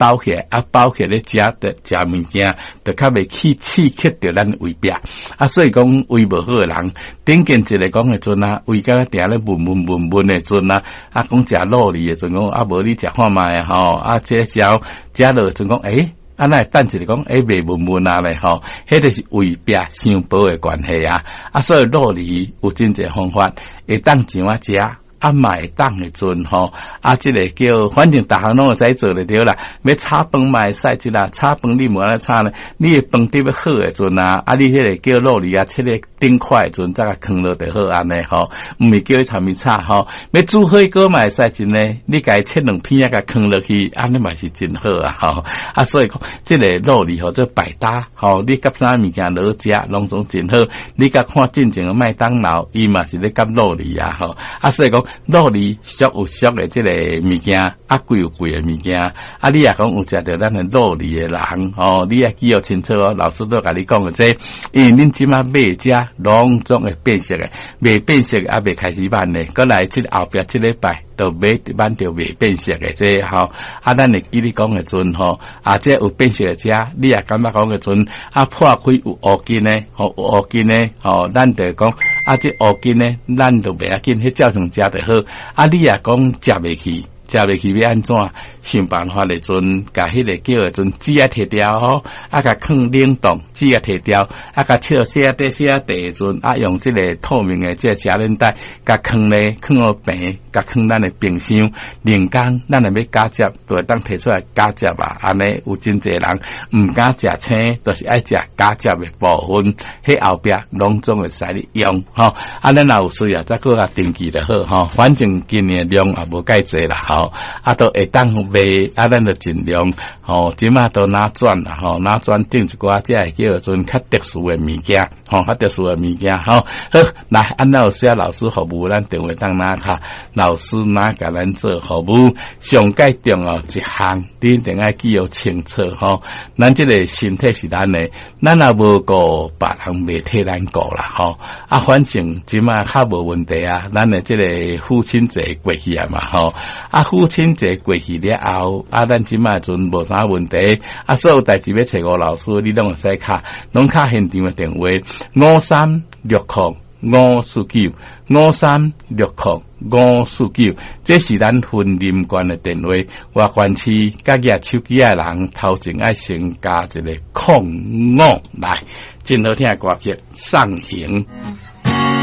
包起來，啊包起來咧食的食物件，就較袂去刺激著咱胃壁。啊，所以講胃無好的人，頂見一个講的陣啊，胃敢若定咧悶悶悶悶的陣啊，啊講食酪梨的陣講啊無你食看覓吼，啊這食食落陣講欸。啊，咱會等一下講，欸，袂悶悶啊咧吼，彼个是胃壁傷薄的關係啊。啊，所以酪梨有真濟方法，會當怎啊食，啊嘛會當的陣吼，啊，這个叫反正逐項攏會使做就對啦。欲炒飯嘛會使這啦，炒飯你無按呢炒呢？你的飯底欲好的陣啊，啊，你彼个叫酪梨啊，切咧頂塊的陣，再共囥落就好按呢吼，毋是叫你參伊炒吼。欲煮火鍋嘛會使真呢，你共伊切兩片啊，共囥落去，按呢嘛是真好啊吼。啊，所以講這个酪梨吼，做百搭吼，你佮啥物件落食，攏總真好。你佮看進前的麥當勞，伊嘛是咧夾酪梨啊吼。啊，所以講酪梨俗有俗的這个物件，啊貴有貴的物件。啊，你若講有食著咱的酪梨的人吼，你愛記予清楚哦。老師都共你講的這，因為恁這馬買遮攏總會變色的，未變色的猶未開始挽呢。閣來這後壁這禮拜就買挽著未變色的這吼。啊，咱會記你講的陣吼，啊，這有變色的遮，你也感覺講的陣，啊破開有烏筋的，吼有烏筋的，吼，咱就講啊，這烏筋呢，咱就袂要緊，彼照常食就好。啊，你若講食袂去，食袂去欲按怎？想辦法的陣，共彼个叫的陣紙仔提掉吼，啊，共囥冷凍，紙仔提掉，啊，共切細仔塊細仔塊的陣，啊，用這个透明的這个夾鏈袋，共囥咧，囥予平，共囥咱的冰箱。兩工咱若欲加食，就會當提出來加食啊。按呢有真濟人毋敢食青，就是愛食加食的部分，彼後壁攏總會使你用吼。啊，咱若有需要再閣共登記就好吼。反正今年量也無介濟啦吼，啊，都會當賣，啊，咱就盡量吼。這馬都拿轉啦吼，拿轉種一寡這个叫做較特殊的物件吼，較特殊的物件吼。好，來，按咱有需要老師服務，咱電話當拿卡，老師拿共咱做服務。上蓋重要一項，你一定愛記予清楚吼。咱這个身體是咱的，咱若無顧，別人袂替咱顧啦吼。啊，反正這馬較無問題啊，咱的這个父親節過去啊嘛吼。啊，父親節過去了後，啊，咱這馬陣無啥問題。啊，所有代誌欲揣吳老師，你攏會使敲，攏敲現場的電話5360549 5360549，這是咱雲林縣的電話。外縣市佮舉手機的人，頭前愛先加一个空五來，真好聽的歌曲《送行》。